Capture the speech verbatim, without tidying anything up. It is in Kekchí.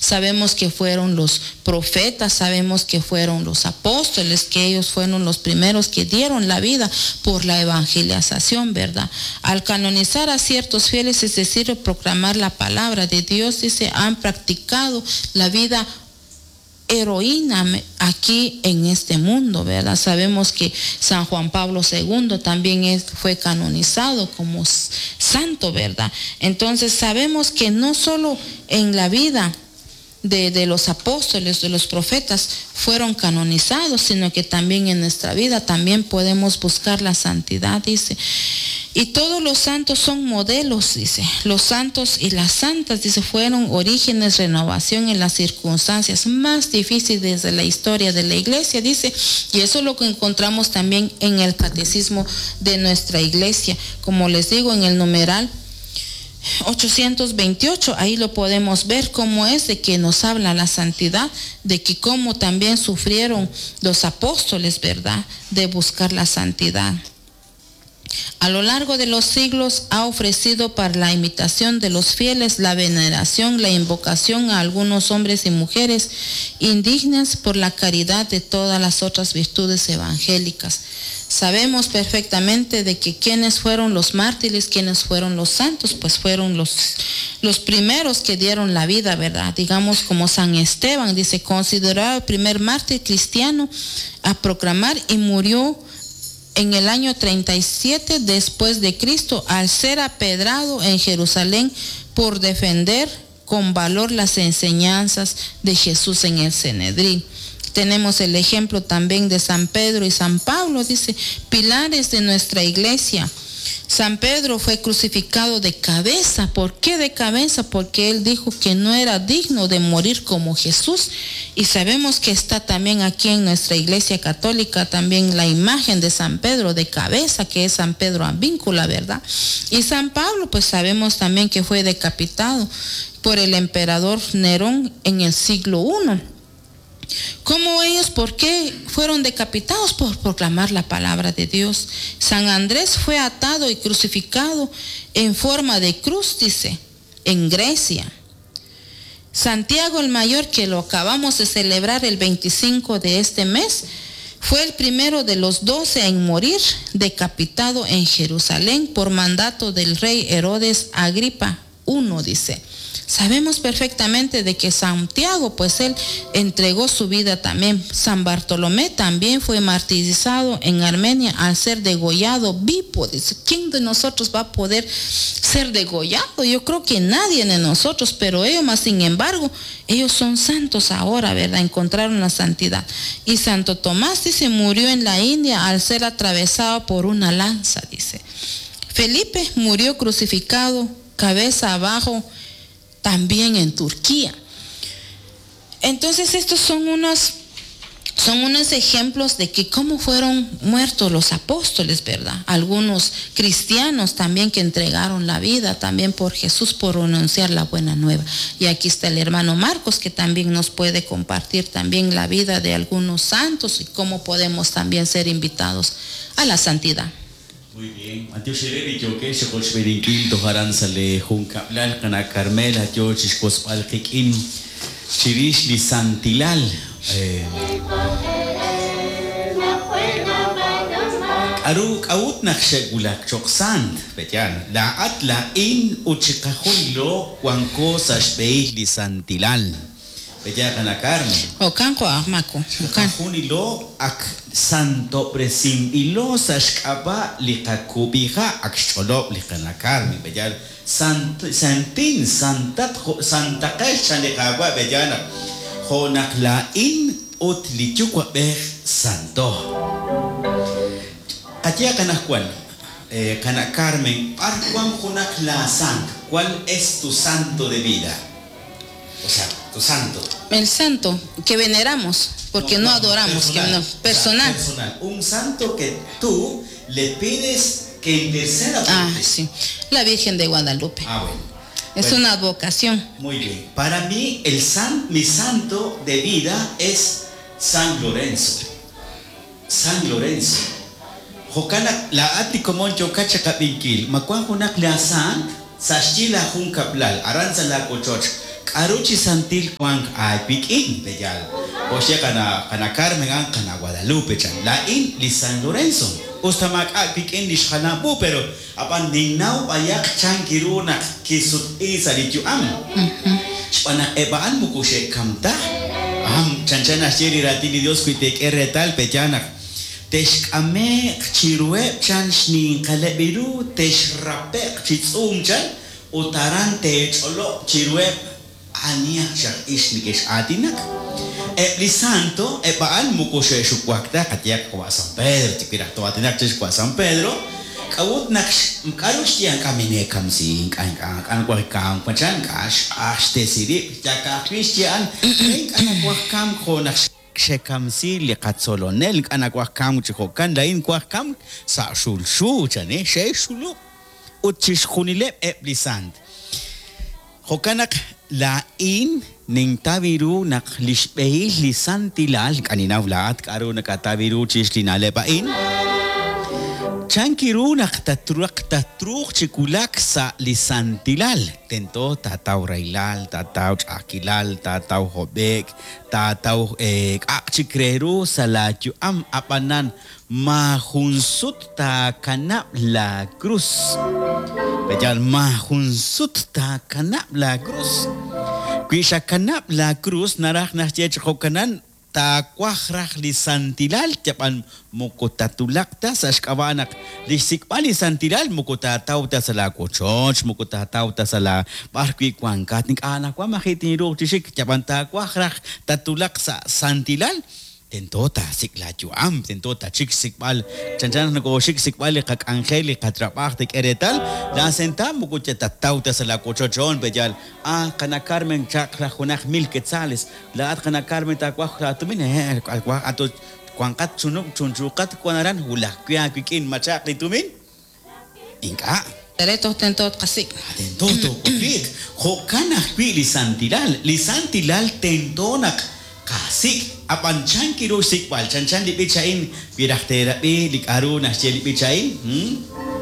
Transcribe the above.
Sabemos que fueron los profetas, sabemos que fueron los apóstoles, que ellos fueron los primeros que dieron la vida por la evangelización, ¿verdad? Al canonizar a ciertos fieles, es decir, proclamar la palabra de Dios, dice, han practicado la vida heroína aquí en este mundo, ¿verdad? Sabemos que San Juan Pablo segundo también es, fue canonizado como santo, ¿verdad? Entonces sabemos que no solo en la vida de, de los apóstoles, de los profetas fueron canonizados, sino que también en nuestra vida también podemos buscar la santidad, dice. Y todos los santos son modelos, dice. Los santos y las santas, dice, fueron orígenes, renovación en las circunstancias más difíciles de la historia de la iglesia, dice. Y eso es lo que encontramos también en el catecismo de nuestra iglesia. Como les digo, en el numeral ochocientos veintiocho, ahí lo podemos ver cómo es de que nos habla la santidad, de que cómo también sufrieron los apóstoles, ¿verdad?, de buscar la santidad. A lo largo de los siglos ha ofrecido para la imitación de los fieles la veneración, la invocación a algunos hombres y mujeres indignas por la caridad de todas las otras virtudes evangélicas. Sabemos perfectamente de que quienes fueron los mártires, quienes fueron los santos, pues fueron los, los primeros que dieron la vida, ¿verdad? Digamos como San Esteban, dice, considerado el primer mártir cristiano a proclamar y murió en el año treinta y siete después de Cristo, al ser apedrado en Jerusalén por defender con valor las enseñanzas de Jesús en el Sanedrín. Tenemos el ejemplo también de San Pedro y San Pablo, dice, pilares de nuestra iglesia. San Pedro fue crucificado de cabeza. ¿Por qué de cabeza? Porque él dijo que no era digno de morir como Jesús. Y sabemos que está también aquí en nuestra iglesia católica también la imagen de San Pedro de cabeza, que es San Pedro Advíncula, ¿verdad? Y San Pablo, pues sabemos también que fue decapitado por el emperador Nerón en el siglo primero. ¿Cómo ellos? ¿Por qué fueron decapitados? Por proclamar la palabra de Dios. San Andrés fue atado y crucificado en forma de cruz, dice, en Grecia. Santiago el Mayor, que lo acabamos de celebrar el veinticinco de este mes, fue el primero de los doce en morir decapitado en Jerusalén por mandato del rey Herodes Agripa primero, dice. Sabemos perfectamente de que Santiago, pues él entregó su vida también. San Bartolomé también fue martirizado en Armenia al ser degollado vivo. Dice, ¿quién de nosotros va a poder ser degollado? Yo creo que nadie de nosotros, pero ellos más sin embargo, ellos son santos ahora, ¿verdad? Encontraron la santidad. Y Santo Tomás, dice, murió en la India al ser atravesado por una lanza, dice. Felipe murió crucificado, cabeza abajo, también en Turquía. Entonces estos son unos, son unos ejemplos de que cómo fueron muertos los apóstoles, ¿verdad? Algunos cristianos también que entregaron la vida también por Jesús, por anunciar la buena nueva. Y aquí está el hermano Marcos, que también nos puede compartir también la vida de algunos santos y cómo podemos también ser invitados a la santidad. Muy bien. Antioxereri yoke xokoxberinkil tojaran sale junkablal kana Carmela yo chixkosbal kikin chirish li santilal. Aru k'awut naq xe'wulak choq sant peyan la at la in uchiqajunilo wanko sa xb'eil li santilal. Peya kana Carmen. Okan ko ahmako. Okan junilo ak santo presim ilo sa xk'ab'a li qakub'ija ak xch'olob' li kana Carmen. Peya sant santin santat santaqex chan li qawa peya naq jo' naq la in ut li yuwa'b'ej santo. Qatia kanaj eh, kana Carmen, par cuan junak la sant, ¿cuál es tu santo de vida? O sea, tu santo. El santo que veneramos, porque no, no, no adoramos, personal, que no, personal. O sea, personal. Un santo que tú le pides que interceda por ah, ti. Sí. La Virgen de Guadalupe. Ah, bueno. Es bueno, una advocación. Muy bien. Para mí, el san, mi santo de vida es San Lorenzo. San Lorenzo. Jokana la ati komon yokacha kabinkil. Makuan junak la sant, sashila jun kaplal, aranza la kochoch. K'aru chi santil wank aawik'in, pe'yaal? Jo' xye qana qana Carmen a'an qana Guadalupe chan. Laa'in li San Lorenzo. Us ta maak'a' wik'in li xjalam u, pero ab'an ninnaw b'ayaq chan kiru naq kisutq'i sa' li yu'am. Xb'aan naq eb' a'an moko xe'kam ta. Am, chanchan naxye li raatin li Dios wi teek'e reetal, pe'yaal naq texk'ame'q chiruheb' chan xninqaleb' ru, texrape'q chi tz'uum chan, ut aran teech'olob' chiruheb' anihaq chaq ix nekex'aatinak. Eb' li santo, eb' a'an moko xe'xuwak ta, qayehaq wa' San Pedro, tikiraj to'aatinaq chix wa' San Pedro, k'a'ut naq k'aru xye ink'a' mineekamsi, ink'a' ink'a' ink'a' nawaj kamk machan, ink'a' xq'aj xtesi rib', yaka'ajwi' xye a'an, ink'a' nawaj kamk jo' naq xekamsi li qatzolonel, ink'a' nawaj kamk chi jo'kan, laa'in waj kamk sa' xulxu, chan, eh, xe'xulub' ut chixjunileb' eb' li sant. Jo'kan naq laa'in nintaw ru naq li xb'ehil li santilal, ink'a' ninnaw laa'at k'aru nakataw ru chix li na'leb' a'in, chan kiru naq tatruuq tatruuq chi wulak sa' li santilal. Tento taataw rahilal, taataw ch'a'ajkilal, taataw hob'e'k, taataw k'a'aq chik re ru sa' laayu'am, ab'anan maajun sut taakanab' la cruz. Pe'yaal maajun sut taakanab' la cruz. Wi xakanab' la cruz naraj naxye chi jo'kanan taawaj raj li santilal, yab'an moko tatulaq ta sa' xk'ab'a' naq li xsik'b'al li santilal moko taataw ta sa' laawochoch, moko taataw ta sa' la b'ar wi' wankat, ink'a' anaqwan maji' tinruuq chi xik, yab'an taawaj raj tatulaq sa' santilal, tento taasik' laayu'am, tento tachik xsik'b'al, chanchan naq nokoxik xsik'b'al li qak'anjel, li qatrab'aj tek'e reetal, la sentav moko tataw ta sa' laawochoch on, pe'yaal, ah, qana Carmen chaq raj junaq mil quetzales, laa'at qana Carmen taawaj laatumin, eh, waj ato wanqat chunub' chunchuqat wan aran wulaj wi' aawik'in machaq li tumin, ink'a'. Tento tento tqasik'. Tento toowakliiq. Jo'kan ajwi' li santilal, li santilal tento naq qasik', ab'an chan kiru xsik'b'al, chanchan li b'ich a'in, wi raj teerab'i li k'aru naxye li b'ich a'in, hmm?